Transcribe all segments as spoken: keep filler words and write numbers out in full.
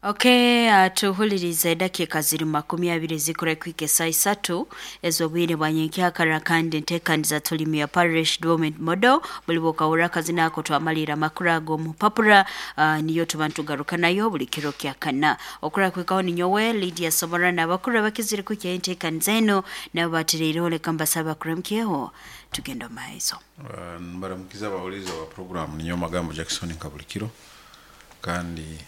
Okay, uh, tuhuliriza edakika ziri makumi abiri zikora kwika esaa isatu ez'obwire bwa nyenkyakara, kandi enteekaniza tulimu ya parish development model. Buli bwokahurra akazina ako twamalira amakuru ag'omupapura, uh, niyo tuba ntugaruka nayo buli kiro kya kana. Okura kwikaho ninyowe Lydia Sobora n'abakuru abakizire kwikya enteekaniza eno nabo batireireho. Leka mbasaba bakuramukyeho tugenda omu maiso. Uh, mbaramukiza abawuliza wa program. Ninyo Magambo Jackson nka buli kiro, kandi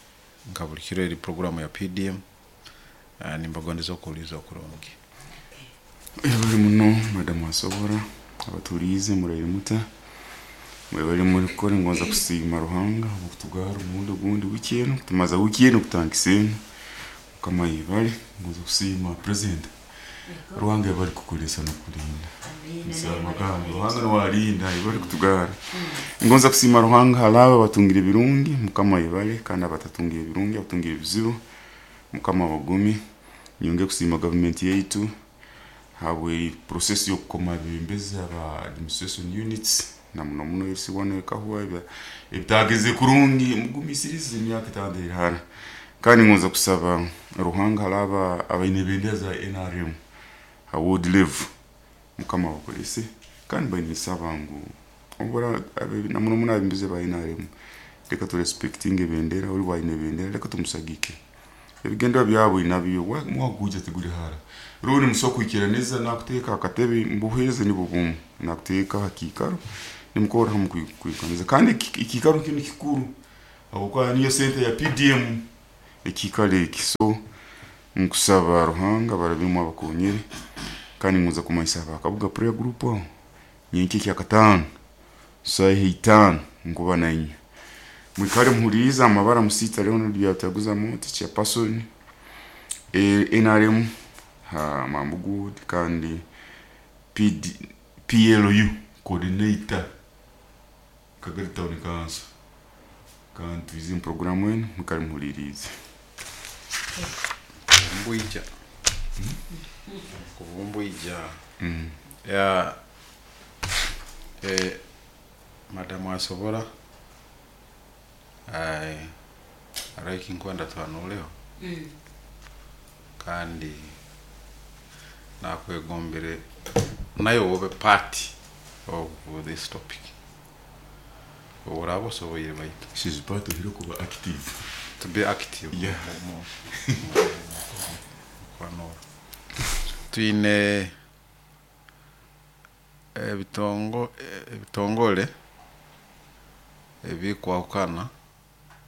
nka buli kiro eri programu ya P D M. uh, nimbagondeza okuwuliza okurungi. Bali muno madamu asobora abatuliize muraire muta mwebali muri ngonza kusiima Ruhanga obukutugara omurundi ogundi wiki enu, kutumaza wiki enu kutandikisa enu. Mukama yebale. Ngonza kusiima president. Ruhanga yebale kukolesa nokulinda. Magambo Ruhanga niwalinda, yebale kutugara. Ngonza kusiima Ruhanga halaba batungire ebirungi, Mukama yebale, kandi abatatungire ebirungi, abatungire ebizibu, Mukama abagumye. Nyonge kusiima gavumenti yaitu habwe process y'okukoma abebembezi aba administration units, na muno muno L C one ekahwa ebitageze kurungi. Mugumisirize, emyaka etano eri hara. Kandi ngonza kusaba Ruhanga halaba abaine ebendera za N R M ha ward level, Mukama abakolese. Kandi bainisaba ngu obura na muno muno abebembezi ba N R M, leka turespectinga ebendera. Oli bwaine ebendera, leka tumusagike. Ebigendwa byabo nabyo mwaguja teguli hara rundi musobola kwikiraniza nakuteeka akatebe mbuheereza nibwo bumu nakuteeka ha kiikaro nimukora hamu kwikaniza. Kandi ekiikaro kinu kikuru habwokuba niyo sente ya P D M ekiikaro eki. So nkusaba Ruhanga barabemu abakonyere. Kandi ngonza kumanyisa abakabuga prayer group aho nyenkya ekyakataano saaha itaano nkuba nainywe. Mwikale muhulirize amabara musiita Leonard Byataguza Moti, chairperson N R M ha Mambugu ward, kandi P D, P L U coordinator Kagari Town Council. Kandi twize mu programu enu, mwikale muhulirize. Mbwija kuvumbwija ya eh, madamu asobora ai araiki nkwenda twanuleho kandi nakwegombere nayo wobe part of this topic oraba osoboire baitu. She's part of kuba active. To be active. Yeah. mu- mu- kwanura twine ebitongo ebitongole ebikwahukana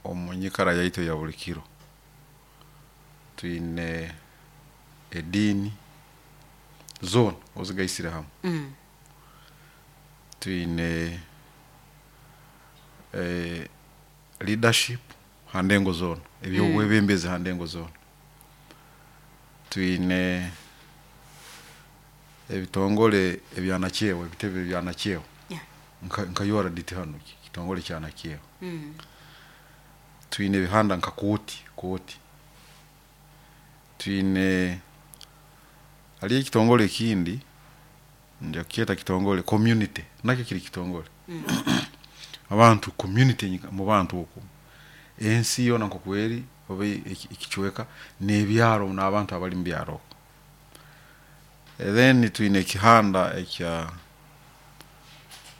omu nyikara yaitu ya buli kiro. Twine ediini zoona ozigaisire hamwe, Mm. twine eh, leadership ha ndengo zoona, ebyobwebembezi ha ndengo zoona, twine ebitongole ebyanakyewa, ebitebe byanakyewa, Yeah. nka, nka U R D T hano kitongole kya nakyewa, Mm. twine ebihanda nka kooti kooti, twine haliyo ekitongole ekindi nja kukyeta kitongole community, nakyo kiri kitongole abantu community nyika- mu bantu oku ensi yoona nkokweri oba eki- ekicweka n'ebyaro n'abantu abali mu byaro okwo. Then twine ekihanda ekya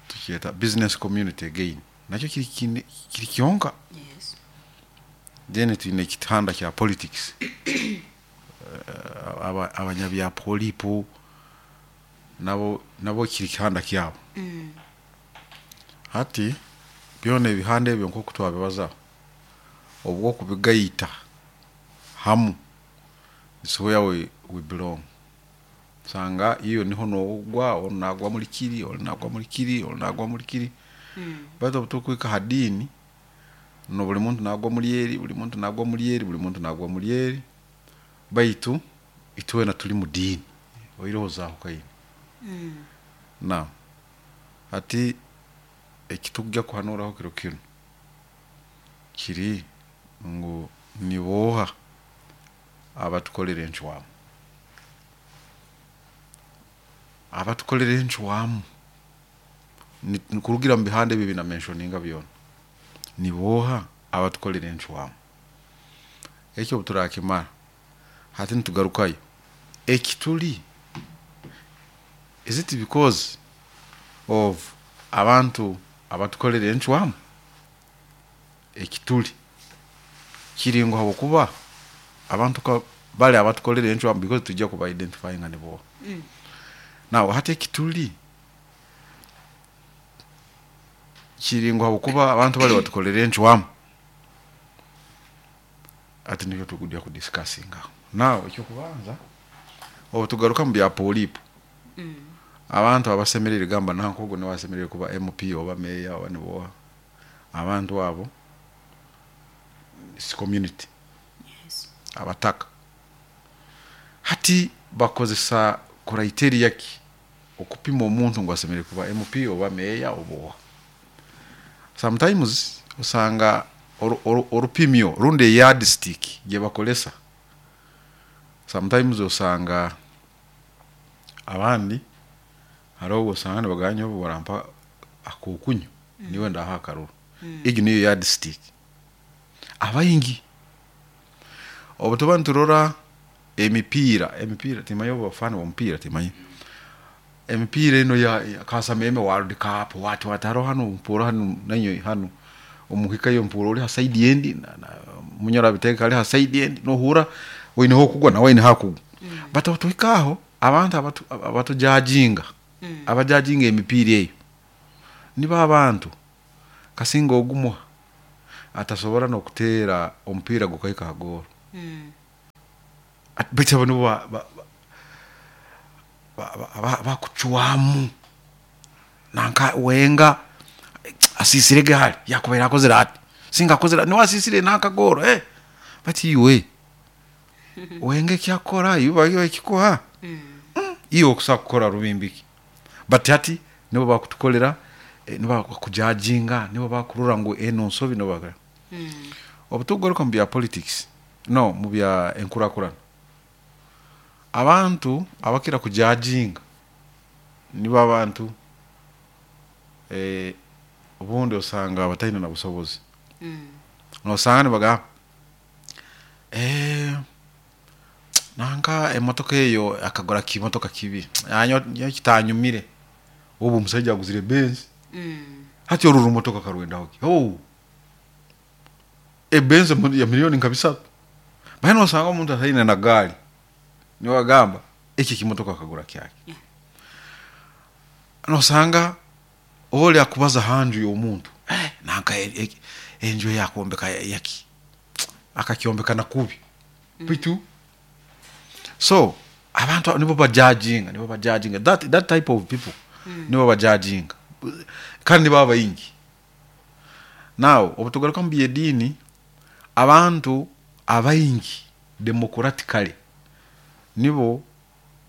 tukyeta business community, again nakyo kiri kine- kiri kyonka. Yes. Then twine ekihanda kya politics, Eh, aba- abanyabyapolipo nabo nabo kiri kihanda kyabo. Mm. Hati byona ebihanda ebyo nkoku twabibazaho, obwokubigaita hamu is where we, we belong. Sanga iyo niho nogwa onu nagwa muri kiri, onu nagwa muri kiri, onu nagwa muri kiri, Mm. baitu obu tukwika ha diini no buli muntu nagwa muri eri, buli muntu nagwa muri eri, buli muntu nagwa muri eri, baitu itwena tuli mu diini oiroho zahukaine. Mm. Na hati ekitujja kuhanuraho kiro kinu kiri ngu niboha abatukolera encwamu, abatukolera encwamu. Ni- ni kurugira mu bihanda ebi bina mentioninga byona, niboha abatukolera encwamu? Ekyo obuturakimara hati nitugarukayo ekituli, is it because of abantu abatukolera encwamu? Ekituli kiri ngu habwokuba abantu ka bali abatukolera encwamu, because tujja kuba identifyinga nibo. Mm. Now hati ekituli kiri ngu habwokuba abantu bali batukolera encwamu, ati nikyo tukujja kudiscussingaho. Now ekyokubanza, obu tugaruka mu bya polipo, Mm. abantu abasemerere gamba nanka ogu niwe asemerere kuba M P oba meya oba niboha, abantu abo is community. Yes. Abataka hati bakozesa criteria ki okupima omuntu ngu asemerere kuba M P oba meya oba oha? Sometimes osanga oru- oru- orupimyo rundi eyardstick gye bakolesa, sometimes osanga abandi hariho obu osanga nibagamba nyowe barampa akokunywa niwe ndaha akaruru. Mm. Egi niyo yardstick. Abaingi obu tuba niturora emipiira, emipiira timanya obu bafana bomupiira, timanya emipiira eno ya ya Kasameme World Cup, what what, haro hanu mpura hanu nanyo hanu omuhikayo mpura ori ha side endi na, na munyora biteka ali ha side endi, nohura oineho okugwa nawe oineho akugwa. Mm. But otuhikaho abantu abatu abatujajinga, Mm. abajajinga emipiira eyo nibo abantu kasinga ogumwa atasobora n'okuteera omupiira gukahika ha goolo. Mm. Baitu abo nibo ba- ba- ba- ba- ba- bakucwamu nanka wenga asisire hali yakubaire akozere ati, singa akozere niwe asisire nanka goolo, eh bati iwe wenga ekyakora iwe iwe ekikuha. Mm. Iwe okusobola kukora rubimbiki, but hati nibo bakutukolera, eh, nibo bakujajinga, nibo bakurora ngu eno nsobi, nibo bakora. Mm. Obu tugaruka mu bya politics, no mu bya enkurakurana, abantu abakira kujajinga nibo abantu eh, obundi osanga bataine na busobozi. Mm. Nosanga nibagamba eh, nanka emotoka eyo akagura kimotoka kibi, anyo nyo kitanyumire, obu omusajja aguzire Benz. Mm. Hati oru rumotoka karwendaho ki? Oh, ebenz mu- ya miliyoni nka bisatu, baina osanga omuntu ataine na gaali niwe agamba eki kimotoka akagura kyaki. Yeah. Nosanga oli akubaza hanju y'omuntu, eh, nanka e- e- enju eyakombeka yaki akakyombeka nakubi bitu. So abantu abo nibo bajajinga, nibo bajajinga, that, that type of people. Mm. Nibo bajajinga kandi nibo abaingi. Now obu tugaruka mu byediini, abantu abaingi democratically nibo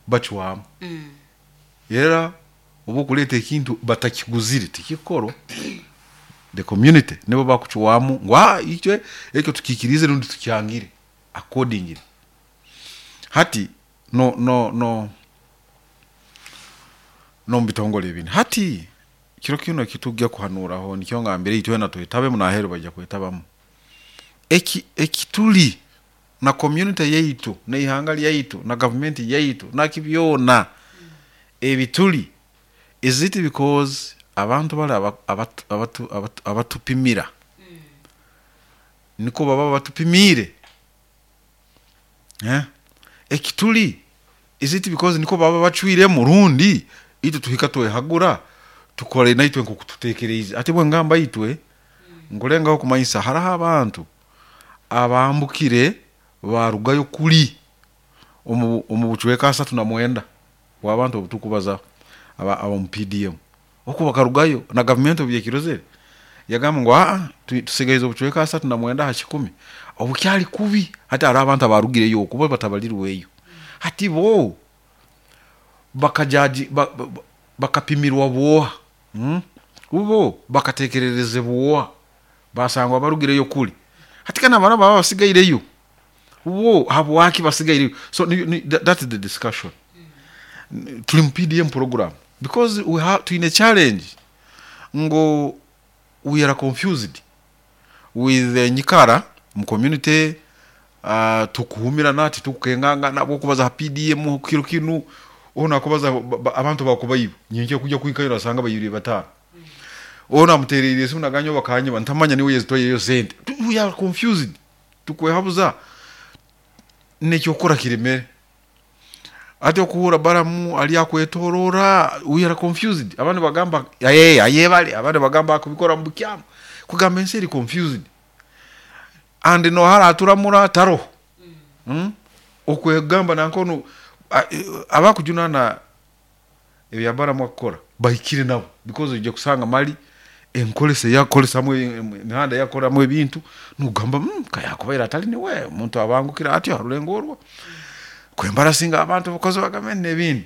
bacwamu. Mm. Era oba okuleeta ekintu batakiguzire tikikorwa. The community nibo bakucwamu ngu "Ah, ikyo ekyo tukikirize rundi tukyangire accordingly." Hati no no no no mu bitongole ebindi, hati kiro kino ekitujja kuhanuraho, nikyo ngambire itwena twetabemu naheru bajja kwetabamu. Eki ekituli na community yaitu neihanga lyaitu na gavumenti yaitu nakibyona ebituli, is it because abantu bali aba- abatu- abatu- abatu- abatupimira niko baba batupimiire, eh? Ekituli, is it because niko baba bacwiremu, rundi itwe tuhika twehagura tukore naitwe nkokututekereize? Ati bwe ngamba itwe, nkulengaho kumanyisa hariho abantu abambukire barugayo kuli omu omu bucweka asatu na mwenda bw'abantu obutukubazaho aba aba mu P D M, oku bakarugayo na gavumenti obu yakirozere yagamba ngu aa tu- tusigaize obucweka asatu na mwenda ha kikumi obukyali kubi. Hati hariho abantu abarugireyo okuba batabalirweyo, hati bo bakajaji ba, ba, ba- bakapimirwa bwoha, hmm? Ubo bakatekererezebwa basangwa barugireyo kuli, hati kana abana baba basigaireyo bo habwaki basigaireyo? So ni, ni, that, that is the discussion. N- tuli mu P D M program because we have twine challenge ngo we are confused with the nyikara mu community. uh, tukuhumira nati tukengangana bwokubaza P D M kiro kinu ona kubaza abantu bakubayiba nyenje kujya kwikayo asanga bayiri batano ona muterereye simu naganyo bakanyeba ntamanya niwe yezitoye yo sente. We are confused. Tukwehabuza nekyo kora kiremere ate okuhura baramu ali akwetorora. We are confused. Abantu bagamba aye aye bali abantu bagamba akubikora mu bukyamu kugamba ensi eri confused and no hara aturamura taro mm. mm? Okwegamba nankono abakujunana ebya baramu akora bahikire nabo because uje kusanga mali enkolese yakolesa mu emihanda yakora mu ebintu nugamba mm, kayakubaira atali niwe omuntu abangukira atyo arulengorwa kwembarasinga abantu bakoze bagamene ebindi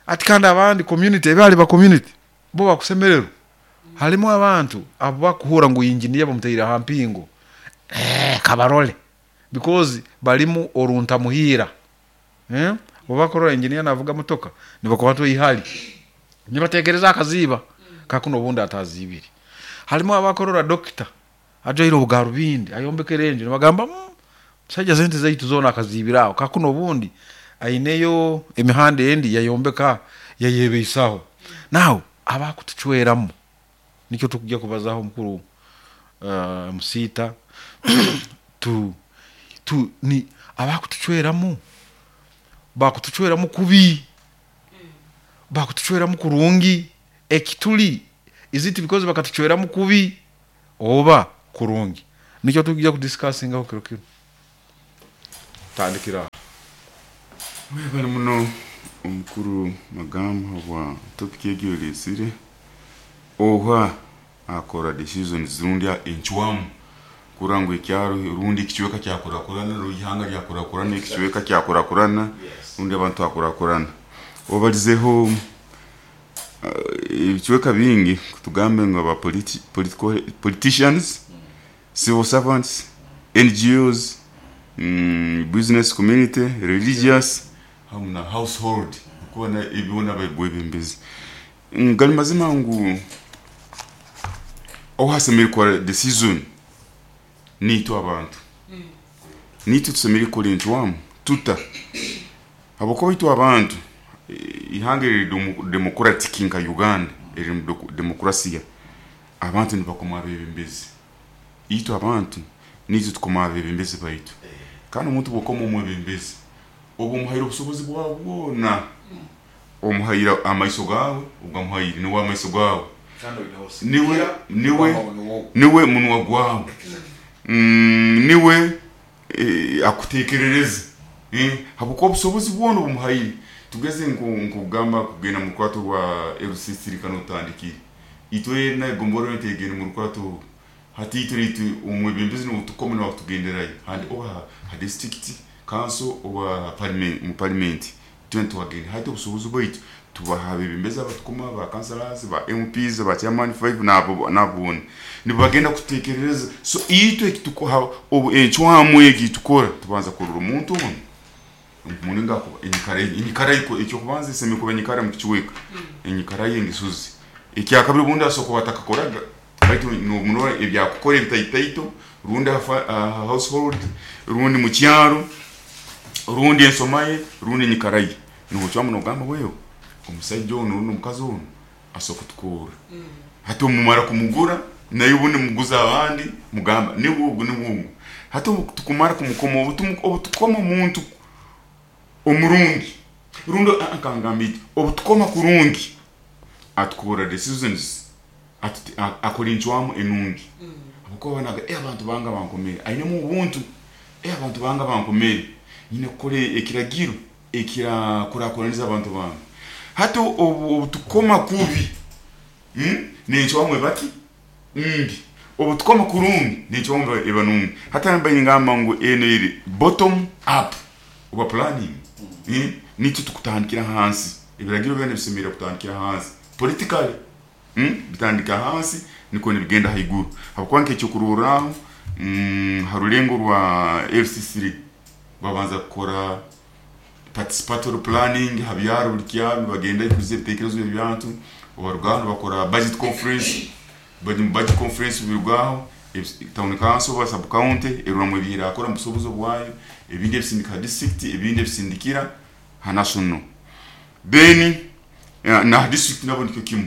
ati kandi abandi community ebali ba community bo bakusemerero mm. Halimu abantu abo bakuhura ngu engineer bamuteira hampingo eh kabarole because balimu orunta muhira eh obakora engineer navuga motoka nibakwatwa ihali nibatekereza akaziba kakuno bundi atazibiri. Halimu abakorora doctor ajoiro bugarubindi ayombekerenje nibagamba msajja sente zaitu zona akazibiraho kakuno bundi aineyo emihanda endi yayombeka yayebeisaho. Now abakutuchweramu nikyo tukujya kubazaho mukuru uh, musita tu tu ni abakutuchweramu bakutuchweramu kubi bakutuchweramu kurungi ekituli is it because bakatuchweramu kubi oba kurungi nikyo tukujya kudiscussinga ho kiro kiro tandikira mwebale muno omukuru Magamba wa topic egyo oha akora decisions rundi enchwamu kurango ekyaro rundi kichweka kyakurakurana ruhanga lyakurakurana ekichweka kyakurakurana rundi abantu akurakurana obalizeho ebichweka bingi kutugambe ngo aba politi political politicians, civil servants, N G Os, mm, business community, religious hamna household kubona ibibona bayibwebembezi ngali mazima ngu ohasemire kwa decision nito abantu mm. Nito tusemire kuri ntwamu tuta abako bitu abantu ihange democratic nka Uganda eri demokrasia abantu nibakoma abebembezi ito abantu nito tukoma abebembezi baitu kandi omuntu bokoma omwebembezi obo muhaira obusobozi bwabwona omuhaira amaiso gawe ugamuhaira niwe amaiso gawe niwe niwe niwe munwa gwawe mm, niwe eh, akutekerereza eh habuko obusobozi bwona obumuhaire tugeze nkugamba kugenda mu rukwato rwa L C C kano utandikire itwe na gomboro ntegene mu rukwato hati itwe itwe umwebembezi n'utukome n'akutugenderayo handi oba ha district council oba parliament mu parliament twenty wagenda hati obusobozi bwaitu tubaha bebembezi abatukoma ba councillors ba M Ps ba chairman five nabo nabone nibagenda kutekerereza so itwe kitukoha obu enchwamu egi tukora tubanza kurura omuntu ono muninga ko enyikara enyikara iko ekyo kubanza semi kuba enyikara mu kichweka enyikara y'engisuzi ekyakabiri bundi asoko batakakoraga baitu no ebyakukora ebitaitaito rundi household rundi mu kyaro rundi ensomaye rundi enyikara ye nuho nogamba wewe omusajja ono rundi omukazi ono asoko tukura hati omumara kumugura naye ubundi muguza abandi mugamba nibugu nibugu hati tukumara kumukoma obutukoma omuntu omurungi rundo akangambiti obutukoma kurungi atukora decisions akora enchwamu enungi abuko banaga eh abantu banga bankomere aine mu ubuntu eh abantu banga bankomere nyine kukore ekiragiro ekira kurakoraniza abantu banga hati obutukoma kubi mm nenchwamu ebaki mbi obutukoma kurungi nenchwamu ebanungi hata namba ingamba ngo eno iri bottom up oba planning mm nicho tukutandikira hansi ebiragiro byane bisemera kutandikira hansi politically mm bitandika hansi niko nibigenda haiguru habukwanke cyo kururaho mm harulengo rwa L C C babanza gukora participatory planning habyaro buri kyaro bagenda ikuze bitekerezo by'abantu obarugano bakora budget conference bari mu budget conference birwaho Town council ba sub county erura mu ebirakora mu busobozi bwayo, ebindi ebisindika district, ebindi ebisindikira ha national. Then na district nabo nikyo kimu.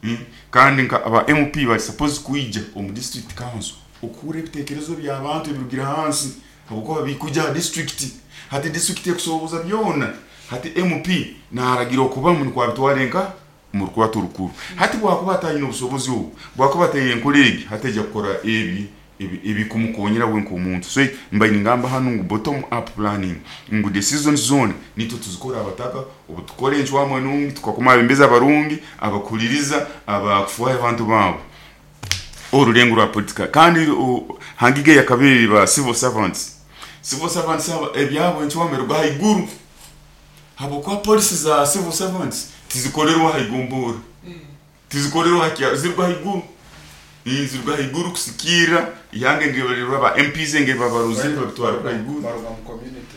Mm. Kandi nka aba M P bari supposed kuija omu district council okure ebitekerezo by'abantu ebirugira hansi habwokuba bikuja district hati district ekusoboza byona hati M P naragira okuba mu kwabitwale nka mu rukwato rukuru hati bwakuba atayina obusobozi obu bwakuba ataye enkolegi hati ejja kukora ebi ebikumukonyera we nk'omuntu. So mbaine ngamba hano ngu bottom up planning ngu decision zone nito tuzikora abataka obutukora enchwamwe nungi tukakoma abembeza abarungi abakuliriza abakufuha abantu babo orulengo rwa politika. Kandi hangige ya kabiri ba civil servants civil servants ebyabo enchwamwe rwa haiguru habokwa policy za civil servants tizikorerwa haigumbura tizikorerwa hakya zirwa haiguru inzirwa haiguru kusikira yange ndibalirwa ba M Ps nge babaruzi babitwara haiguru baruga mu community.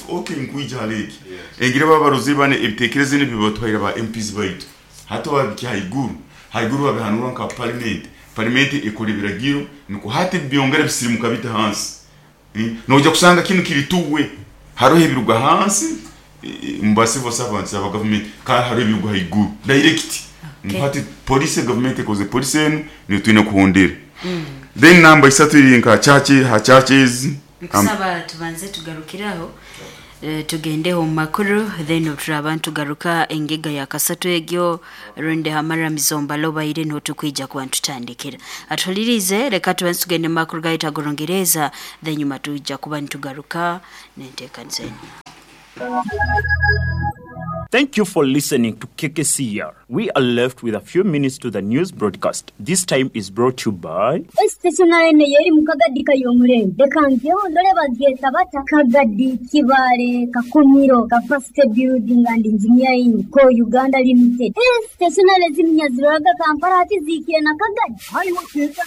Okay, nkuija haleki engire babaruzi bane ebitekerezo nibibatwaira ba M Ps baitu hato babiki haiguru haiguru babihanura nka parliament parliament ikora ibiragiro niko hati byongera bisirimuka bita hansi. Mm. Noja kusanga kinu kirituwe haroho ebiruga hansi mba civil servants aba government ka haro ebiruga haiguru direct. Okay. Hati police government ekoze police enu ni twine kuhondera. Mm. Then number isatu iri nka church ha churches nkusaba tubanze tugarukiraho e, tugendeho makuru then turabantu garuka engega ya kasatu egyo runde hamara mizomba loba ire no tukwija kwa tutandikira atulirize reka tubanze tugende makuru gaita gorongereza then nyuma tuija kuba ntugaruka nentekanze. Thank you for listening to K K C R. We are left with a few minutes to the news broadcast. This time is brought to you by Stationary yeri mukagadi kayomurembe. Dekangyo ndole bagyeta bata Kagadi Kibale Kakumiro Capacity Building and Engineering Co Uganda Limited. Stationary ziminyaziraga Kampala ati zikire na Kagadi. Haiwo keza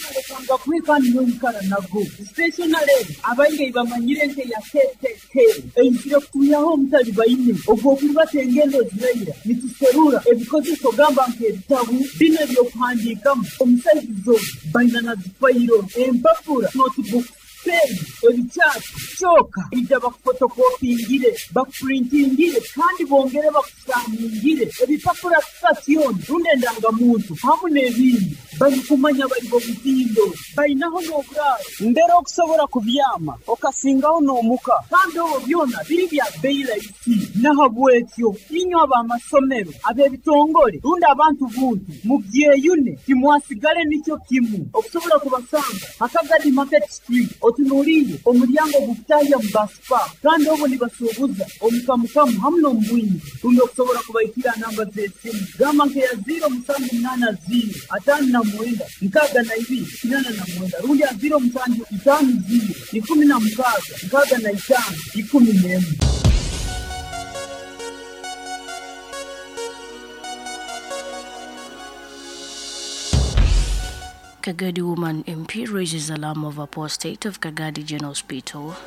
na kwika nyonkara nago. Stationary abainge bamanyire nte ya K K K. Einzire kuyaho mutali bayine. Ogwo kubatengendo zirayira nituserura ebikozeso gamba nk'ebitabu bino ebyokuhandiikamu omusaizizo baina na zifayiro empapura notebook pen ebikyapa kyoka ija bakufotokopingire bakupurintingire kandi bongere bakusaningire ebipapura station rundi endangamuntu hamu n'ebindi barikumanya bari bo mutindo bainaho n'oburaro mbere okusobola kubyama okasingaho n'omuka kandi obwo byona biri bya beyi rahisi nahabwekyo inywe ab'amasomero ab'ebitongole rundi abantu buntu mubyeyune timwasigale nikyo kimu okusobola kubasanga Akagadi Market Street otunuliire omulyango gukutahya mu basipa kandi obwo nibasuubuza omukamukamu hamu n'omubwingi rundi okusobola kubaikira namba z'esimu gamba nkeya ziro musanju munana ziro atano na mwenda nkaaga na ibiri kinana na mwenda rundi ya ziro musanju itaano ziro ikumi na mukaaga nkaaga na itaano ikumi n'emwe. Kagadi woman M P raises alarm over poor state of Kagadi General Hospital.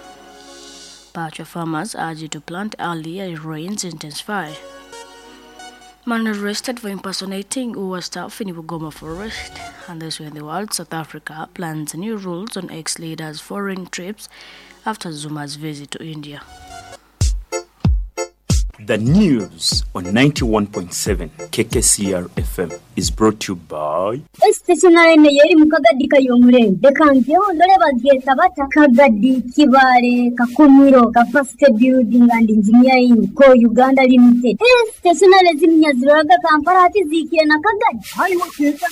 Pacha farmers urged to plant early as rains intensify. Man arrested for impersonating U A staff in Bugoma Forest. And this way in the world, South Africa plans new rules on ex-leaders' foreign trips after Zuma's visit to India. The news on ninety-one point seven K K C R F M is brought to you by Stationary yeri mukagadi kayomurembe. Dekangyo ndole bagyeta bata Kagadi Kibale Kakumiro Capacity Building and Engineering Co Uganda Limited. Stationary ziminyaziraga Kampala ati zikire na Kagadi. Haiwo keza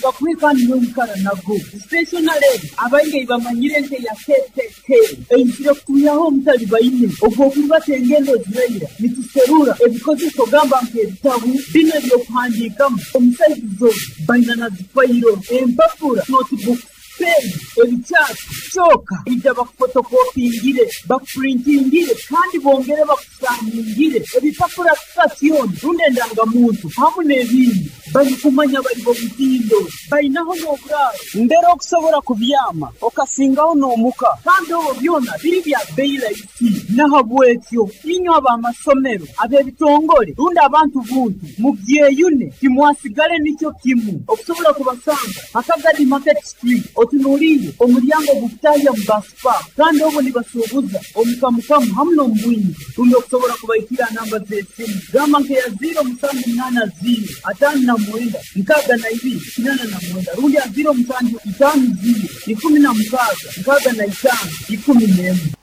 na kwika nyonkara nago. Stationary abainge bamanyire nte ya K K K. Einzire kuyaho mutali bayine ogwo kubatengendo zirayira nituserura ebikozeso gamba nk'ebitabu bino ebyokuhandiikamu omusaizizo baina na zifayiro empapura notebook pen ebikyapa kyoka ija bakufotokopingire bakupurintingire kandi bongere bakusaningire ebipapura station rundi endangamuntu hamu n'ebindi Balikumanya bali b'omutindo. Bainaho n'oburaaro. Mbere okusobola kubyama, okasingaho n'omuka. Kandi obwo byona biri bya bei rahisi. Nahabwekyo, inywe ab'amasomero, ab'ebitongole, rundi abantu buntu, mubyeyune, timwasigale nikyo kimu. Okusobola kubasanga, Akagadi Market Street, otunuliire omulyango gukutahya mu Baspa, kandi obwo nibasuubuza omukamukamu hamu n'omubwingi. Rundi okusobola kubaikira namba z'esimu, gamba nkeya ziro musanju munana ziro, atano na mwenda, nkaaga na ibiri, kinana na mwenda, rundi ya ziro musanju itano ziro, ikumi na mukaaga, nkaaga na itano, ikumi n'emu.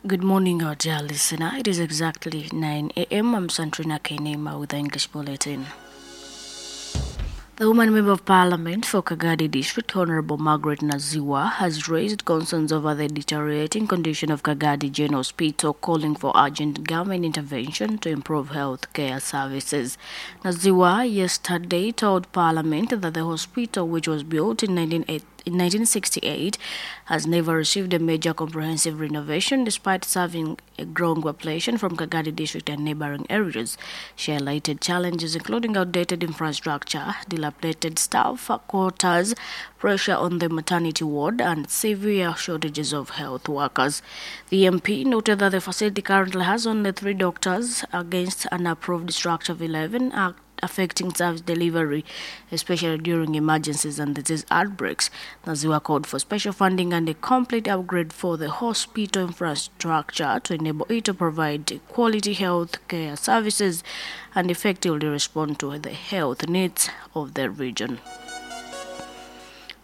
Good morning, our dear listener. It is exactly nine a.m. I'm Santrina Kenema with the English Bulletin. The woman member of parliament for Kagadi District, Honorable Margaret Naziwa, has raised concerns over the deteriorating condition of Kagadi General Hospital, calling for urgent government intervention to improve health care services. Naziwa yesterday told parliament that the hospital, which was built in nineteen in nineteen sixty-eight, has never received a major comprehensive renovation despite serving a growing population from Kagadi District and neighboring areas. She highlighted challenges including outdated infrastructure, dilapidated staff quarters, pressure on the maternity ward, and severe shortages of health workers. The M P noted that the facility currently has only three doctors against an approved structure of eleven, affecting service delivery, especially during emergencies and disease outbreaks. Naziwa called for special funding and a complete upgrade for the hospital infrastructure to enable it to provide quality health care services and effectively respond to the health needs of the region.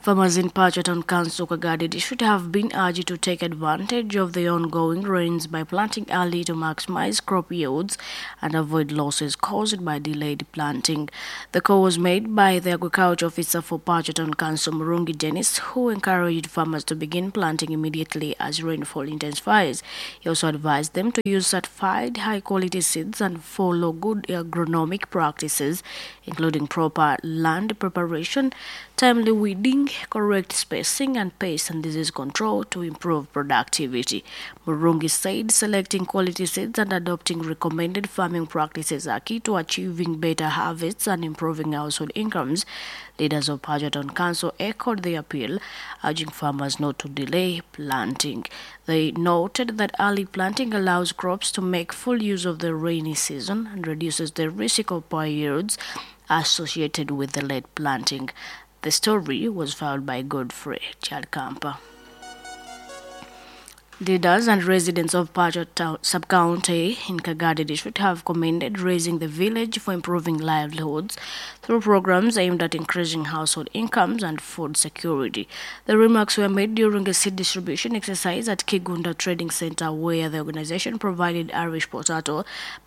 Farmers in Pacho Town Council, Kagadi District have been urged to take advantage of the ongoing rains by planting early to maximize crop yields and avoid losses caused by delayed planting. The call was made by the Agriculture Officer for Pacho Town Council, Murungi Dennis, who encouraged farmers to begin planting immediately as rainfall intensifies. He also advised them to use certified high-quality seeds and follow good agronomic practices, including proper land preparation, timely weeding, correct spacing, and pest and disease control to improve productivity. Murungi said selecting quality seeds and adopting recommended farming practices are key to achieving better harvests and improving household incomes. Leaders of Pacho Town Council echoed the appeal, urging farmers not to delay planting. They noted that early planting allows crops to make full use of the rainy season and reduces the risk of poor yields associated with the late planting. The story was filed by Godfrey Chalkampa. Leaders and residents of Pacho sub-county in Kagadi District have commended Raising the Village for improving livelihoods through programs aimed at increasing household incomes and food security. The remarks were made during a seed distribution exercise at Kigunda Trading Center, where the organization provided Irish potato,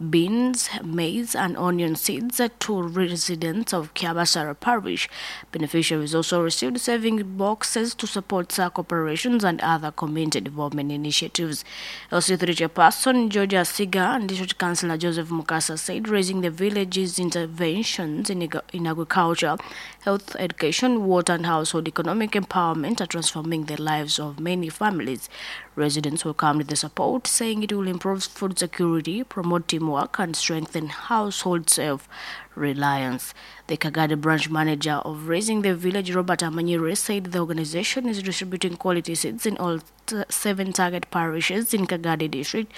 beans, maize, and onion seeds to residents of Kiabasara Parish. Beneficiaries also received saving boxes to support S A C operations and other community development initiatives. initiatives. L C three chairperson Georgia Siga and District Councillor Joseph Mukasa said Raising the Village's interventions in, in agriculture, health, education, water and household economic empowerment are transforming the lives of many families. Residents welcomed the support, saying it will improve food security, promote teamwork and strengthen household self-reliance. The Kagadi branch manager of Raising the Village, Robert Amanyire, said the organization is distributing quality seeds in all t- seven target parishes in Kagadi district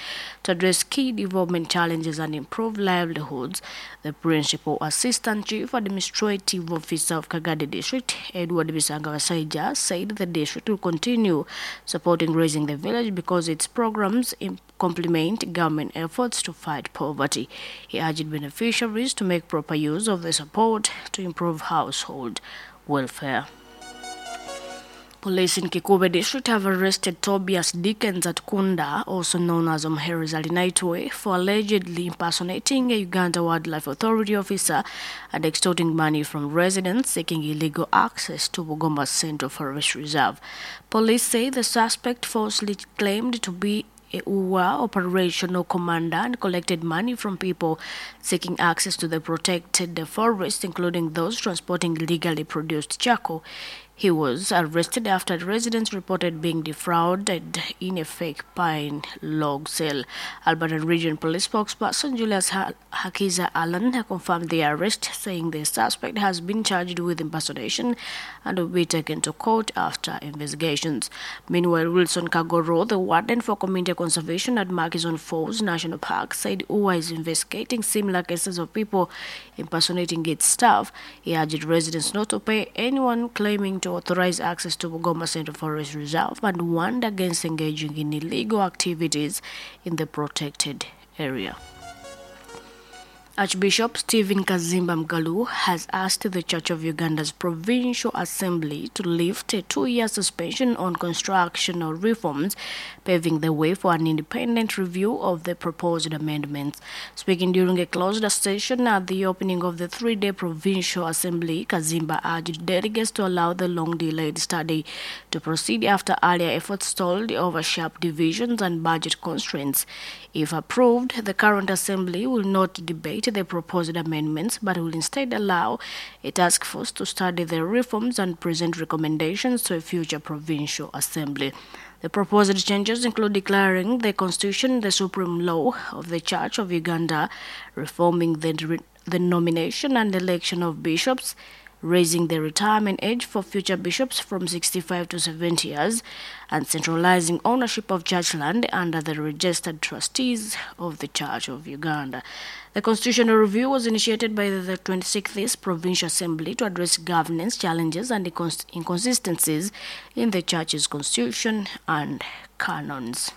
to address key development challenges and improve livelihoods. The principal assistant chief administrative officer of Kagadi district, Edward Bisanga said the district will continue supporting Raising the Village because its programs complement government efforts to fight poverty. He urged beneficiaries to make proper use of the support to improve household welfare. Police in Kikube district have arrested Tobias Dickens at Kunda, also known as Omheri Zalinaitwe, for allegedly impersonating a Uganda Wildlife Authority officer and extorting money from residents seeking illegal access to Bugoma Central Forest Reserve. Police say the suspect falsely claimed to be a U W A operational commander and collected money from people seeking access to the protected forest, including those transporting illegally produced charcoal. He was arrested after residents reported being defrauded in a fake pine log sale. Alberta Region Police spokesperson Julius ha- Hakiza Allen confirmed the arrest, saying the suspect has been charged with impersonation and will be taken to court after investigations. Meanwhile, Wilson Kagoro, the warden for community conservation at Murchison Falls National Park, said U A is investigating similar cases of people impersonating its staff. He urged residents not to pay anyone claiming to authorize access to Bugoma Central Forest Reserve and warned against engaging in illegal activities in the protected area. Archbishop Stephen Kazimba Mgalu has asked the Church of Uganda's Provincial Assembly to lift a two-year suspension on constructional reforms, paving the way for an independent review of the proposed amendments. Speaking during a closed session at the opening of the three-day Provincial Assembly, Kazimba urged delegates to allow the long-delayed study to proceed after earlier efforts stalled over sharp divisions and budget constraints. If approved, the current assembly will not debate the proposed amendments, but will instead allow a task force to study the reforms and present recommendations to a future provincial assembly. The proposed changes include declaring the Constitution the supreme law of the Church of Uganda, reforming the, the nomination and election of bishops, raising the retirement age for future bishops from sixty-five to seventy years, and centralizing ownership of church land under the registered trustees of the Church of Uganda. The constitutional review was initiated by the twenty-sixth Provincial Assembly to address governance challenges and inconsistencies in the church's constitution and canons.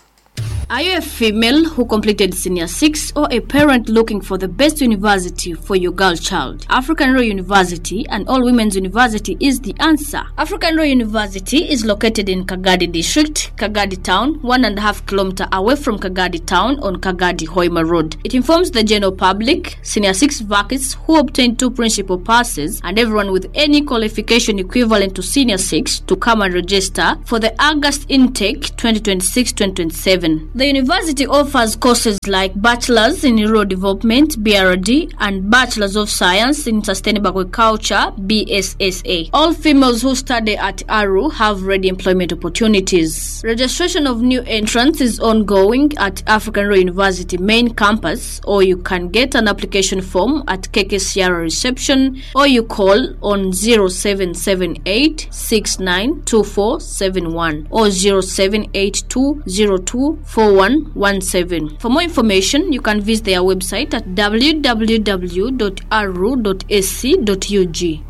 Are you a female who completed Senior six or a parent looking for the best university for your girl child? African Royal University and All Women's University is the answer. African Royal University is located in Kagadi District, Kagadi Town, one and a half kilometer away from Kagadi Town on Kagadi Hoima Road. It informs the general public, Senior six vacancies who obtained two principal passes, and everyone with any qualification equivalent to Senior six to come and register for the August intake twenty twenty-six twenty twenty-seven. The university offers courses like Bachelor's in Rural Development, B R D, and Bachelor's of Science in Sustainable Agriculture, B S S A. All females who study at A R U have ready employment opportunities. Registration of new entrants is ongoing at African Royal University main campus, or you can get an application form at K K C R reception, or you call on zero seven seven eight six nine two four seven one or zero seven eight two zero two four one one seven. For more information, you can visit their website at w w w dot a r u dot a c dot u g.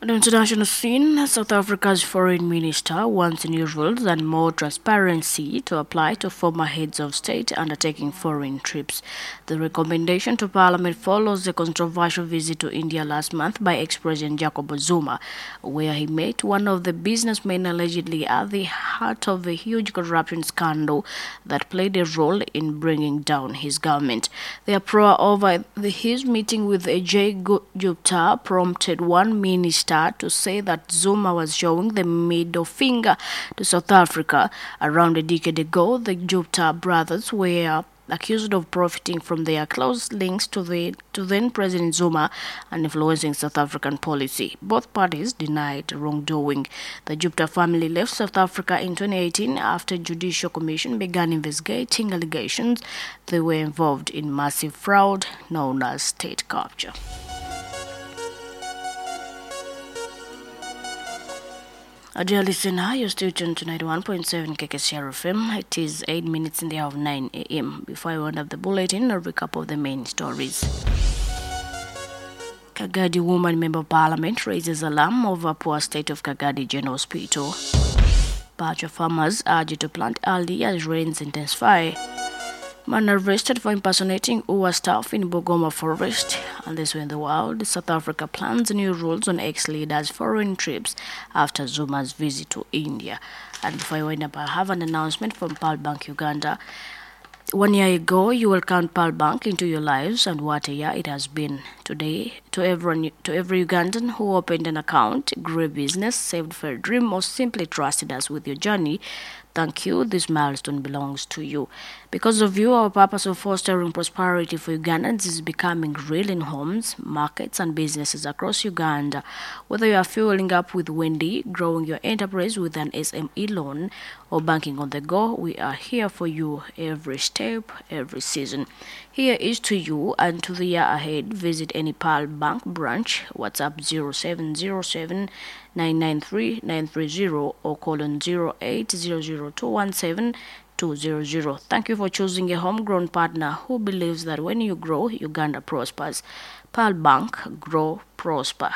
On the international scene, South Africa's foreign minister wants new rules and more transparency to apply to former heads of state undertaking foreign trips. The recommendation to Parliament follows a controversial visit to India last month by ex-President Jacob Zuma, where he met one of the businessmen allegedly at the heart of a huge corruption scandal that played a role in bringing down his government. The uproar over the, his meeting with Ajay Gupta prompted one minister to say that Zuma was showing the middle finger to South Africa. Around a decade ago, the Gupta brothers were accused of profiting from their close links to the to then President Zuma and influencing South African policy. Both parties denied wrongdoing. The Gupta family left South Africa in twenty eighteen after a judicial commission began investigating allegations they were involved in massive fraud known as state capture. Dear listener, you're still tuned to ninety-one point seven K K C R F M. It is eight minutes in the hour of nine A M. Before I round up the bulletin, a recap of the main stories. Kagadi woman member of parliament raises alarm over poor state of Kagadi General Hospital. Batch of farmers urged to plant early as rains intensify. Man arrested for impersonating U A staff in Bugoma Forest. And this way in the world, South Africa plans new rules on ex-leaders' foreign trips after Zuma's visit to India. And before I wind up, I have an announcement from Pearl Bank Uganda. One year ago, you welcomed Pearl Bank into your lives, and what a year it has been. Today, to everyone, to every Ugandan who opened an account, grew a business, saved for a dream, or simply trusted us with your journey, Thank you. This milestone belongs to you. Because of you, our purpose of fostering prosperity for Ugandans is becoming real in homes, markets, and businesses across Uganda. Whether you are fueling up with Wendy, growing your enterprise with an S M E loan, or banking on the go, we are here for you every step, every season. Here is to you and to the year ahead. Visit any Pearl Bank branch, WhatsApp zero seven zero seven nine nine three nine three zero or call on zero eight zero zero two one seven two zero zero. Thank you for choosing a homegrown partner who believes that when you grow, Uganda prospers. Pearl Bank, grow, prosper.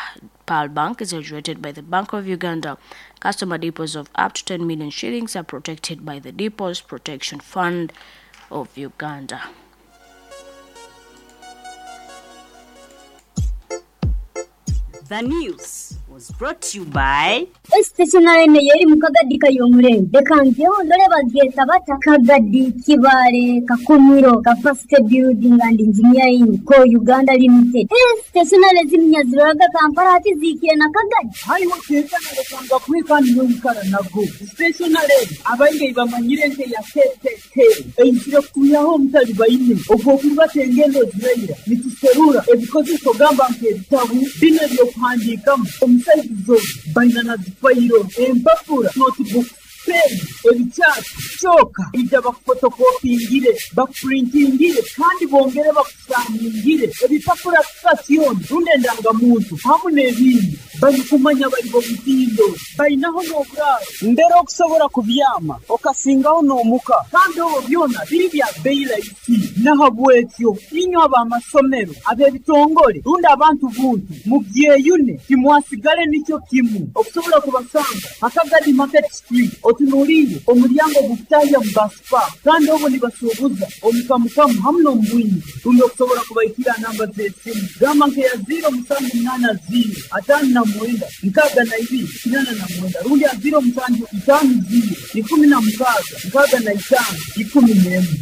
Pearl Bank is regulated by the Bank of Uganda. Customer deposits of up to ten million shillings are protected by the Deposit Protection Fund of Uganda. The news was brought to you by Stationary yeri mukagadi kayomurembe reka ngeho ndore bageta bata Kagadi Kibale Kakumiro Capacity Building and Engineering ko Uganda Limited. Stationary zimnyaziraga Kampala ati zikire na Kagadi hariho tekana rekanga kwikani n'oyikara nago stationary abaingi bamanyire nke ya K K K eizire kutuyaho omutali baine ogw'okuribata engendo ziraira nituserura ebikozeso gamba nk'ebitabu bino ebyokuhandiikamu omusaizizo baina na zifairo empapura notebook pen ebikyati kyoka ija bakufotokopingire bakupurintingire kandi bongere bakusaningire ebipapura sitasioni rundi endangamuntu hamu n'ebindi barikumanya bari bomutindo bainaho n'oburaaro mbere okusobola kubyama okasingaho n'omuka kandi obwo byona biri bya beyi rahisi nahabwekyo inywe ab'amasomero ab'ebitongole rundi abantu buntu mubyeyune timwasigale nikyo kimu okusobola kubasanga Akagadi Market Street otunuulire omulyango gukutahya mu baspa kandi obwo nibasuubuza omukamukamu hamu n'omubwingi rundi okusobola kubaikira namba z'esimu gamba nkeya ziro musanju munaana ziro ataano na mwenda nkaaga na ibiri kinana na mwenda rundi ya ziro musanju itaano ziro ikumi na mukaaga nkaaga na itaano ikumi n'emwe.